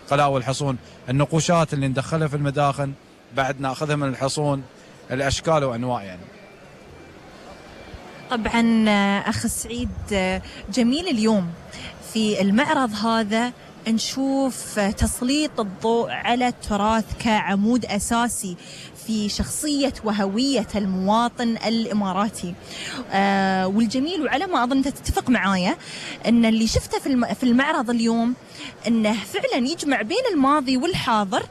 قلاء والحصون، النقوشات اللي ندخلها في المداخن بعد ناخذها من الحصون، الاشكال وانواع يعني. طبعا اخ سعيد، جميل اليوم في المعرض هذا نشوف تسليط الضوء على التراث كعمود أساسي في شخصية وهوية المواطن الإماراتي. والجميل، وعلى ما أظن تتفق معايا، أن اللي شفته في المعرض اليوم أنه فعلا يجمع بين الماضي والحاضر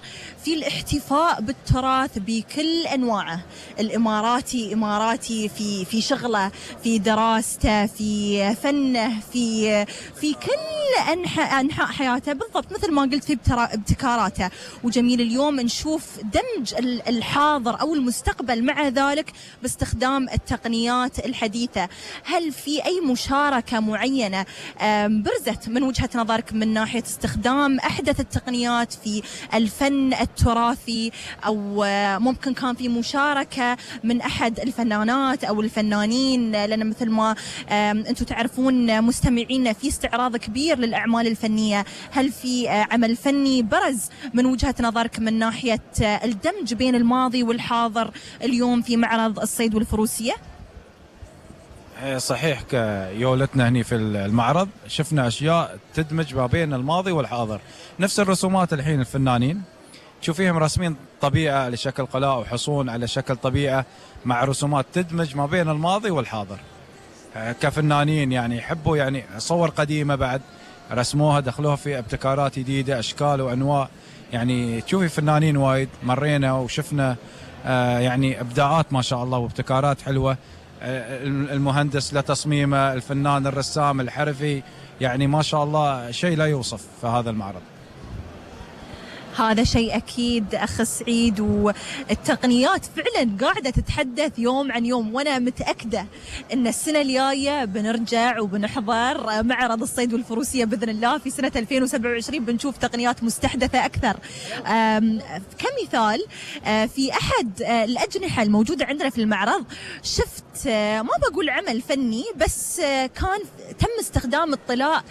في الاحتفاء بالتراث بكل أنواعه. الإماراتي إماراتي في شغله، في دراسته، في فنه، في كل أنحاء حياته، بالضبط مثل ما قلت في ابتكاراته. وجميل اليوم نشوف دمج الحاضر أو المستقبل مع ذلك باستخدام التقنيات الحديثة. هل في أي مشاركة معينة برزت من وجهة نظرك من ناحية استخدام أحدث التقنيات في الفن التراثي، أو ممكن كان في مشاركة من أحد الفنانات أو الفنانين؟ لأن مثل ما أنتم تعرفون مستمعين، في استعراض كبير للأعمال الفنية. هل في عمل فني برز من وجهة نظرك من ناحية الدمج بين الماضي والحاضر اليوم في معرض الصيد والفروسية؟ صحيح، كيولتنا هني في المعرض شفنا أشياء تدمج ما بين الماضي والحاضر. نفس الرسومات الحين الفنانين تشوفيهم راسمين طبيعة على شكل قلاء وحصون على شكل طبيعة، مع رسومات تدمج ما بين الماضي والحاضر. كفنانين يعني يحبوا يعني صور قديمة بعد رسموها، دخلوها في ابتكارات جديدة، أشكال وأنواع. يعني تشوفي فنانين وايد مرينا وشفنا يعني إبداعات ما شاء الله وابتكارات حلوة. المهندس لتصميمه، الفنان الرسام الحرفي، يعني ما شاء الله شيء لا يوصف في هذا المعرض. هذا شيء أكيد أخ سعيد، والتقنيات فعلا قاعدة تتحدث يوم عن يوم، وأنا متأكدة أن السنة الجاية بنرجع وبنحضر معرض الصيد والفروسية بإذن الله في سنة 2027، بنشوف تقنيات مستحدثة أكثر. كمثال، في أحد الأجنحة الموجودة عندنا في المعرض شفت ما بقول عمل فني، بس كان تم استخدام الطلاء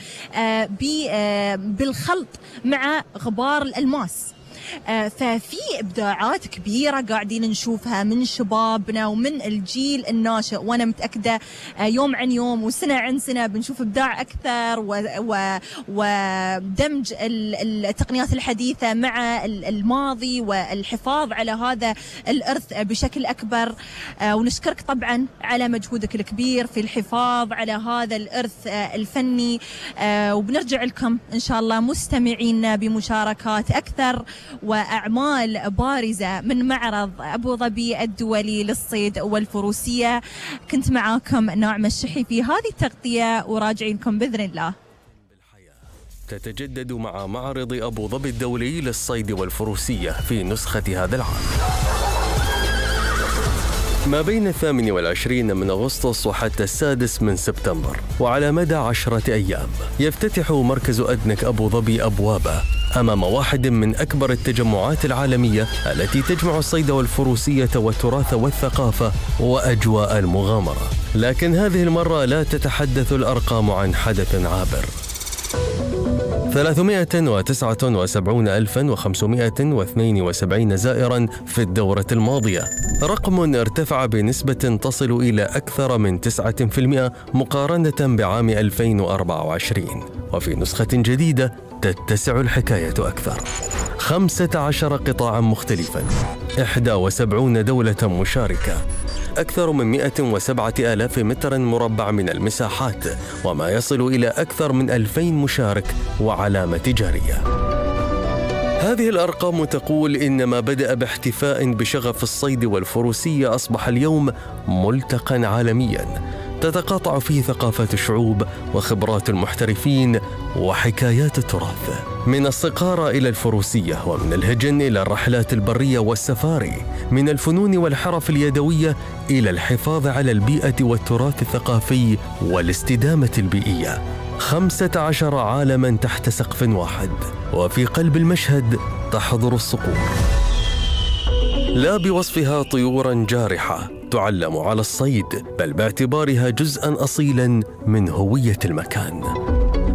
بالخلط مع غبار الألماس. ففي إبداعات كبيرة قاعدين نشوفها من شبابنا ومن الجيل الناشئ، وأنا متأكدة يوم عن يوم وسنة عن سنة بنشوف إبداع أكثر ودمج التقنيات الحديثة مع الماضي والحفاظ على هذا الإرث بشكل أكبر. ونشكرك طبعا على مجهودك الكبير في الحفاظ على هذا الإرث الفني، وبنرجع لكم إن شاء الله مستمعين بمشاركات أكثر وأعمال بارزة من معرض أبو ظبي الدولي للصيد والفروسية. كنت معاكم ناعمة الشحي في هذه التغطية، وراجعين لكم بإذن الله. تتجدد مع معرض أبو ظبي الدولي للصيد والفروسية في نسخة هذا العام ما بين 28 من أغسطس وحتى 6 من سبتمبر، وعلى مدى 10 أيام يفتتح مركز أدنك أبو ظبي أبوابه أمام واحد من أكبر التجمعات العالمية التي تجمع الصيد والفروسية والتراث والثقافة وأجواء المغامرة. لكن هذه المرة لا تتحدث الأرقام عن حدث عابر. 379,572 زائراً في الدورة الماضية، رقم ارتفع بنسبة تصل إلى أكثر من 9% مقارنة بعام 2024. وفي نسخة جديدة تتسع الحكاية أكثر. 15 قطاعاً مختلفاً، 71 دولة مشاركة، أكثر من 107,000 متر مربع من المساحات، وما يصل إلى أكثر من 2000 مشارك وعلامة تجارية. هذه الأرقام تقول إن ما بدأ باحتفاء بشغف الصيد والفروسية أصبح اليوم ملتقى عالمياً تتقاطع فيه ثقافات الشعوب وخبرات المحترفين وحكايات التراث، من الصقارة إلى الفروسية، ومن الهجن إلى الرحلات البرية والسفاري، من الفنون والحرف اليدوية إلى الحفاظ على البيئة والتراث الثقافي والاستدامة البيئية. 15 عالماً تحت سقف واحد، وفي قلب المشهد تحضر الصقور، لا بوصفها طيوراً جارحة تعلم على الصيد، بل باعتبارها جزءاً أصيلاً من هوية المكان.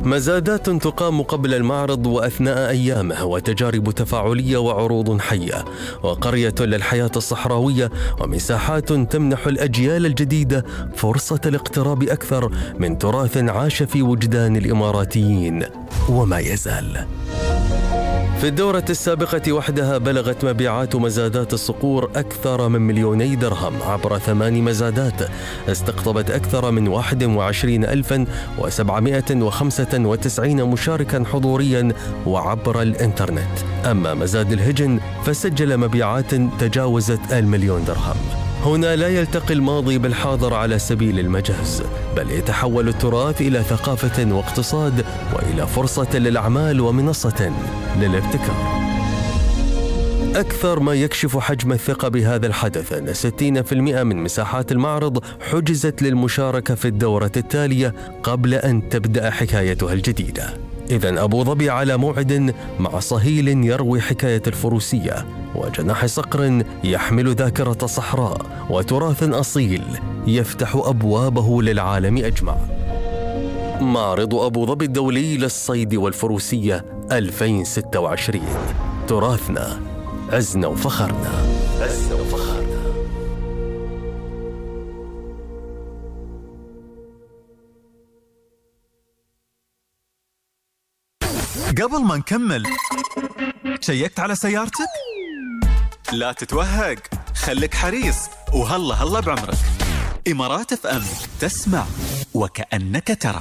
مزادات تقام قبل المعرض وأثناء أيامه، وتجارب تفاعلية وعروض حية، وقرية للحياة الصحراوية، ومساحات تمنح الأجيال الجديدة فرصة الاقتراب أكثر من تراث عاش في وجدان الإماراتيين وما يزال. في الدورة السابقة وحدها بلغت مبيعات مزادات الصقور أكثر من 2,000,000 درهم عبر 8 مزادات استقطبت أكثر من 21,795 مشاركا حضوريا وعبر الإنترنت. أما مزاد الهجن فسجل مبيعات تجاوزت 1,000,000 درهم. هنا لا يلتقي الماضي بالحاضر على سبيل المجاز، بل يتحول التراث إلى ثقافة واقتصاد وإلى فرصة للأعمال ومنصة للابتكار. أكثر ما يكشف حجم الثقة بهذا الحدث أن 60% من مساحات المعرض حجزت للمشاركة في الدورة التالية قبل أن تبدأ حكايتها الجديدة. إذن أبو ظبي على موعد مع صهيل يروي حكاية الفروسية، وجناح صقر يحمل ذاكرة صحراء، وتراث أصيل يفتح أبوابه للعالم أجمع. معرض أبو ظبي الدولي للصيد والفروسية 2026، تراثنا عزنا وفخرنا. قبل ما نكمل، شيكت على سيارتك؟ لا تتوهق، خليك حريص وهلا بعمرك. إمارات FM، تسمع وكأنك ترى.